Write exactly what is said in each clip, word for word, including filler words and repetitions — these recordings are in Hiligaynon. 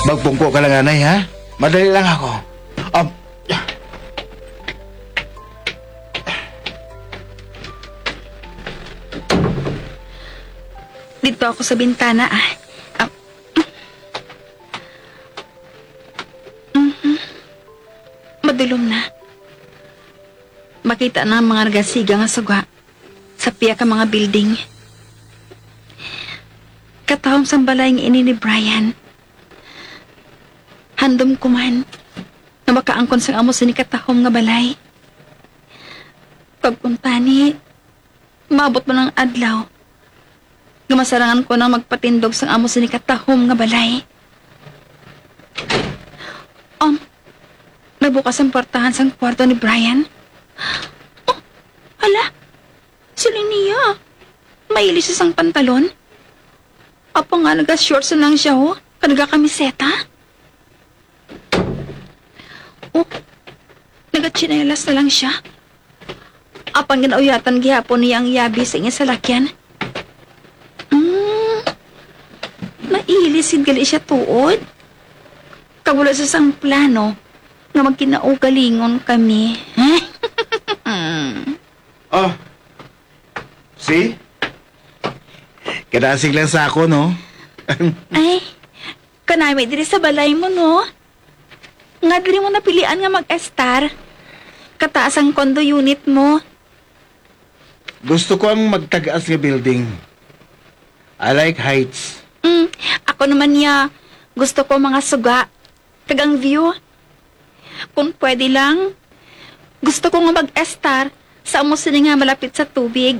Magpungko ka lang, anay, ha? Madali lang ako. Um, Dito ako sa bintana, ah. Ah. Mhm. Madulom na. Makita na ang mga nagasiga nga suga sa pia ka mga building. Katahom sang balay nga ini ni Brian. Handom ko man nga makaangkon sang amo sini katahom nga balay. Kag kuntani, maabot man ang adlaw nga masarangan ko nang magpatindog sang amo sini katahom nga balay. Um, nabukas ang portahan sang kwarto ni Brian. Oh, hala, si Linnea. Mailis siya sang pantalon. Apo nga, naga-shorts na lang siya, oh. Kag nagakamiseta. Oh, nagatsinelas na lang siya. Apang ginauyatan gihapon niya ang yabi sa iya salakyan. Mm, nailis gid gali siya tuod. Kag wala siya sang plano nga magkinaugalingon kami. Ah, see? Kadasig lang sa ako, no? Ay, kanami diri sa balay mo, no? Nga diri mo napilian nga mag-estar? Kataas ang condo unit mo. Gusto ko ang magtag-as nga building. I like heights. Mm, ako naman niya, gusto ko mga suga. Kag ang view. Kung pwede lang, gusto ko nga mag-estar sa amo sini nga malapit sa tubig.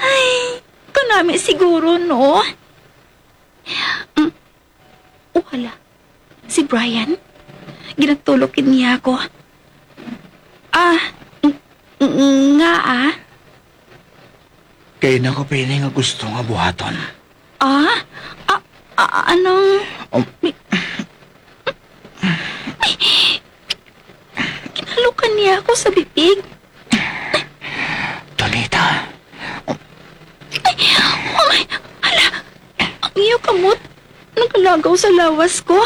Ay, kanami siguro, no? Mm. O hala, si Brian? Ginatulok gid niya ako. Ah, ng-, ng-, nga ah? Kay na ko pa ini nga gusto nga buhaton. Ah? Ah, ah, anong... Um, Ginalukan niya ako sa bibig. Donita, Ay, oh my, hala, ang iyo kamot nagalagaw sa lawas ko.